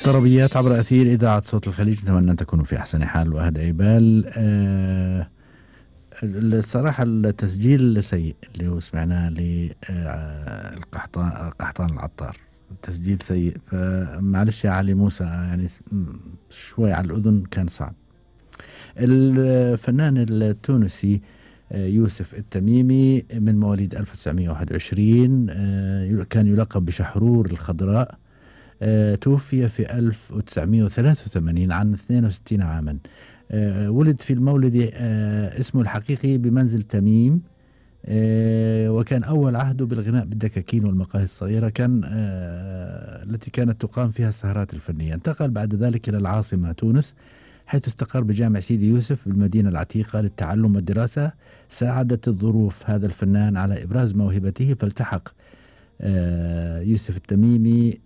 طربيات عبر أثير إذاعة صوت الخليج. نتمنى أن تكونوا في أحسن حال وأهدى بال. الصراحة التسجيل سيء اللي هو سمعناه قحطان العطار، التسجيل سيء، فمعلش يا علي موسى يعني شوي على الأذن كان صعب. الفنان التونسي يوسف التميمي من مواليد 1921، كان يلقب بشحرور الخضراء. توفي في 1983 عن 62 عاما. ولد في المولد اسمه الحقيقي بمنزل تميم، وكان أول عهده بالغناء بالدكاكين والمقاهي الصغيرة، كان التي كانت تقام فيها السهرات الفنية. انتقل بعد ذلك إلى العاصمة تونس، حيث استقر بجامع سيدي يوسف بالمدينة العتيقة للتعلم والدراسة. ساعدت الظروف هذا الفنان على إبراز موهبته، فالتحق يوسف التميمي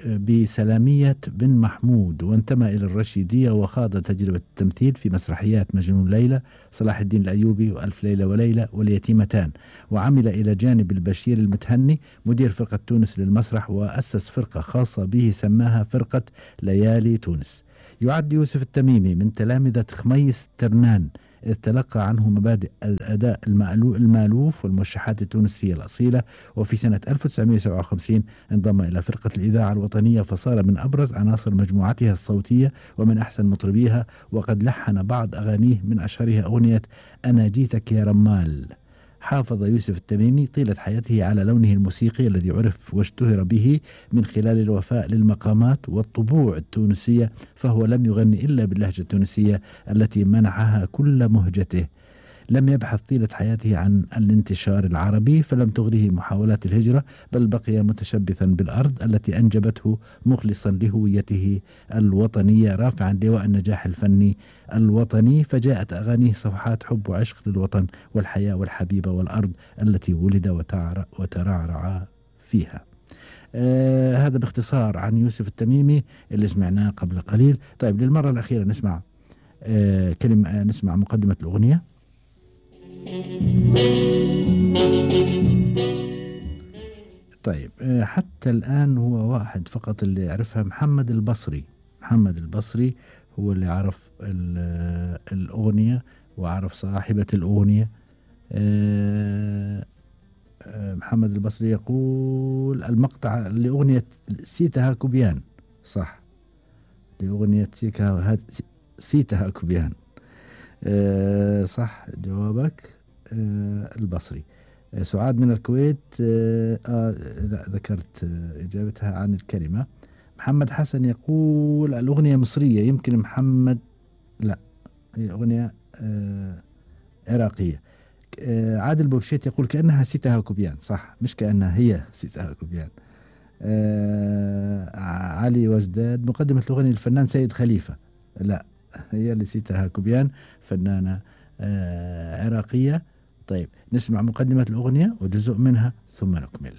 بسلامية بن محمود، وانتمى إلى الرشيدية، وخاض تجربة التمثيل في مسرحيات مجنون ليلى، صلاح الدين الأيوبي، وألف ليلة وليلة، واليتيمتان. وعمل إلى جانب البشير المتهني مدير فرقة تونس للمسرح، وأسس فرقة خاصة به سماها فرقة ليالي تونس. يعد يوسف التميمي من تلامذة خميس ترنان، إذ تلقى عنه مبادئ الأداء المألوف والموشحات التونسية الأصيلة. وفي سنة 1957 انضم إلى فرقة الإذاعة الوطنية، فصار من أبرز عناصر مجموعتها الصوتية ومن أحسن مطربيها، وقد لحن بعض أغانيه من أشهرها أغنية أنا جيتك يا رمال. حافظ يوسف التميمي طيلة حياته على لونه الموسيقي الذي عرف واشتهر به من خلال الوفاء للمقامات والطبوع التونسية، فهو لم يغني إلا باللهجة التونسية التي منحها كل مهجته. لم يبحث طيلة حياته عن الانتشار العربي، فلم تغره محاولات الهجرة، بل بقي متشبثا بالأرض التي أنجبته، مخلصا لهويته الوطنية، رافعا لواء النجاح الفني الوطني. فجاءت أغانيه صفحات حب وعشق للوطن والحياة والحبيبة والأرض التي ولد وترعرع فيها. هذا باختصار عن يوسف التميمي اللي سمعناه قبل قليل. طيب، للمرة الأخيرة نسمع نسمع مقدمة الأغنية. طيب، حتى الآن هو واحد فقط اللي يعرفها، محمد البصري. محمد البصري هو اللي عرف الأغنية وعرف صاحبة الأغنية. محمد البصري يقول المقطع لأغنية سيتها كوبيان، صح، لأغنية سيتها كوبيان. صح جوابك. البصري. سعاد من الكويت، لا ذكرت إجابتها عن الكلمة. محمد حسن يقول الأغنية مصرية، يمكن محمد، لا هي أغنية عراقية. عادل بوفشيت يقول كأنها سيتها كوبيان، صح، مش كأنها هي سيتها كوبيان. علي وجداد مقدمة الأغنية للفنان سيد خليفة، لا هي اللي سيتها كوبيان، فنانة عراقية. طيب، نسمع مقدمة الأغنية وجزء منها ثم نكمل.